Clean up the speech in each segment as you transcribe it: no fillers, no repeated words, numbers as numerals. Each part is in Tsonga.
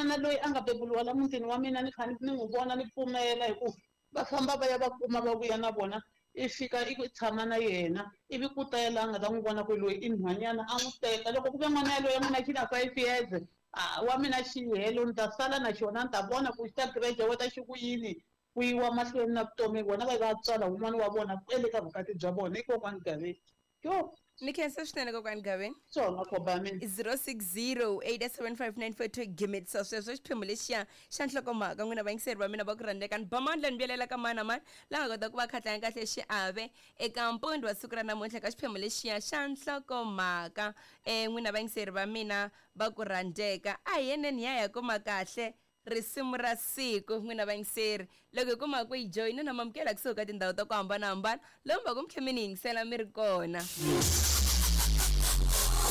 N'wana loyi a nga beburiwa la mutini wa mina ni kha ni n'wi vona ni pfumela hi ku va famba va ya va kuma va vuya na vona i fika i tshama na yena ivi ku ta la nga ta n'wi vona ku loyi i nhwanyana a n'wi teka loko ku ve n'wana yaloye mina xi na 5 years a wa mina xi helo ni ta sala na xona ni ta vona ku xi ta graduate xi ku yini ku yiwa mahlweni na vutomi vona va va tswala wun'wana wa vona kwele ka vukati bya vona i kokwani Gaveni yo. Ni khensa swinene, kokwani Gaveni. Swona khoba mina. 060 875 gimitsa sweswo xiphemu lexiya xa nhlokomhaka. N'wina vayingiseri va mina va ku rhandzeka, ni ba mandla ni vuyelela ka mani na mani la nga kota ku va khatlanga kahle xiave eka mpundi wa siku ra namuntlha ka xiphemu lexiya xa nhlokomhaka. N'wina vayingiseri va mina va ku rhandzeka, a hi yeneni hi ya hi ya kuma kahle risimu ra siku. N'wina vayingiseri, loko hi kuma ku yi joyina na mamukela kusuhi ka tindhawu ta ku hambanahambana lomu va ku mi tlhe mi ni yingisela mi ri kona.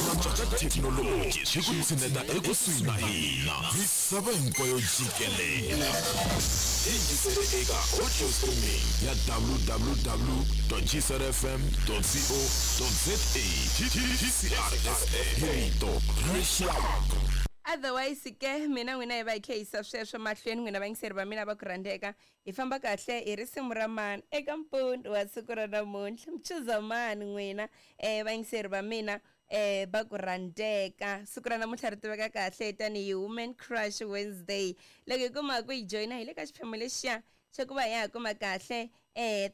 Ku ka thekinoloji swi ku tshineta ekusuhi na hina misava hinkwayo jikelela. Yingisele eka audio streaming ya www gcrfm co za. GCR FM, rito ra rixaka. Otherwise ke mina n'wina hi va hi khe yisa sweswo mahlweni. N'wina vayingiseri va mina va ku rhandzeka, hi famba kahle hi risimu ra mani eka mpundu wa siku ra namuntlha? Mi chuza mani n'wina vayingiseri va mina va ku rhandzeka? Siku ra namuntlha ri tiveka kahle tanihi Women Crush Wednesday. Loko hi kuma ku hi joyina hi le ka xiphemu lexiya xa ku va hi ya kuma kahle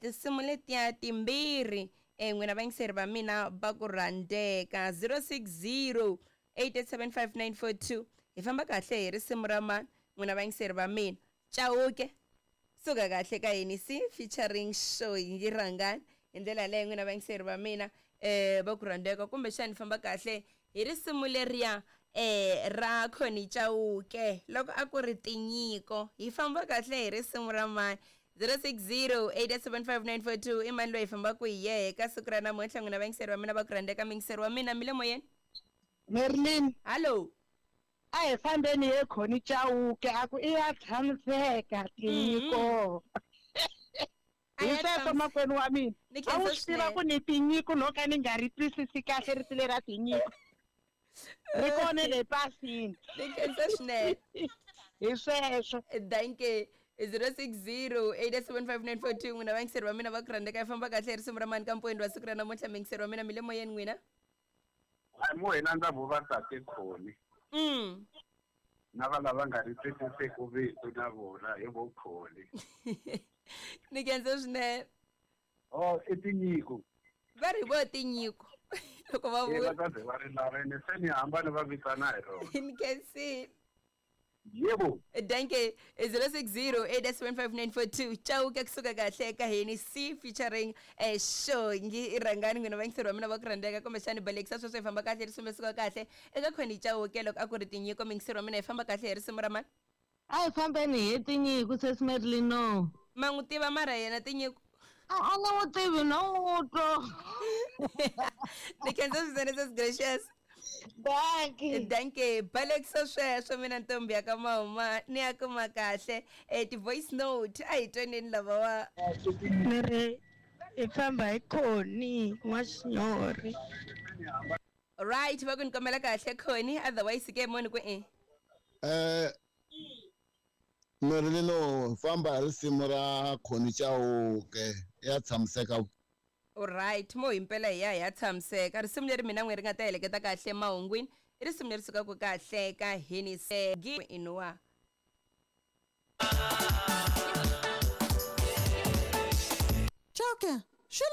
tinsimu letiya timbirhi. N'wina vayingiseri va mina va ku rhandzeka, 060 8875942, hi famba kahle hi risimu ra mani n'wina vayingiseri va mina? Chauke, suka kahle ka yini si featuring Shoyi Rhangani. Hi ndlela yaleyo, n'wina vayingiseri va mina va ku rhandzeka, kumbexani famba kahle hi risimu leriya ra Connie Chauke loko a ku ri Tinyiko. Hi famba kahle hi risimu ra mani? 060 875 i mani loyi hi fambaka hi yehe ka siku ra namuntlha, n'wina vayingiseri va mina va ku rhandzeka? Miyingiseri wa mina, mi le moyeni. Merlin. Hallo. A hi fambeni ye Connie Chauke, a ku i ya tshamiseka, Tinyiko. A Hi ya sweswo. Makwenu wa mina, Ni a wu khensa swi tiva swinene. ku ni tinyiko no ka ni nga ri twisisi kahle rito lera tinyiko ri kona le pasini. Ni khensa swinene. Hi sweswo. Danke. 060 875 n'wina vayingiseri va mina va ku rhandzeka, hi famba kahle hi risimu ra mani ka mpfuweni wa siku ra namuntlha? Miyingiseri wa mina, mi le moyeni n'wina. Mo hina ndza vo va tate Connie na va lava nga ri twisisiku vito na vona hi vo Connie. Ni khensa swinene. O i Tinyiko. Va ri vo Tinyiko loko va e va vula. Ta ze va ri lava ene se ni hamba ni va vitana hi rona. Ni khensile. Yebo. Danke. 060 875 Chauke, kusuka kahle ka hini c featuring Shongi Rhangani. N'wina vayingiseri wa mina va ku rhandzeka, kumbexani balekisa sweswo, hi famba kahle risimu suka kahle eka Connie Chauke loko a ku ri Tinyiko. Miyingiseri wa mina, hi famba kahle hi risimu ra mani? A hi fambeni hi Tinyiko, sesi Merlino. Ma n'wi tiva mara yena Tinyiko? A ni n'wi tivi no n'wi twa. Ni khensa swinene, sesi Gracious. Dankie. Danke. Balekisa sweswo, mina ntombi ya ka mama ni ya kuma kahle ti-voice note. A hi twaneni lava wa. Ni ri hi famba hi Connie N'waxinyori. Right, va ku ni kombela kahle Connie. Otherwise ke moni ku i Merlino, famba hi risimu ra Connie Chauke, ya tshamiseka. Alright, mo himpela hi ya hi ya tshamiseka. Risimu leri mina n'we ri nga ta heleketa kahle mahungwini i risimu leri sukaka kahle ka Hinisegi inuwa. Chauke, xi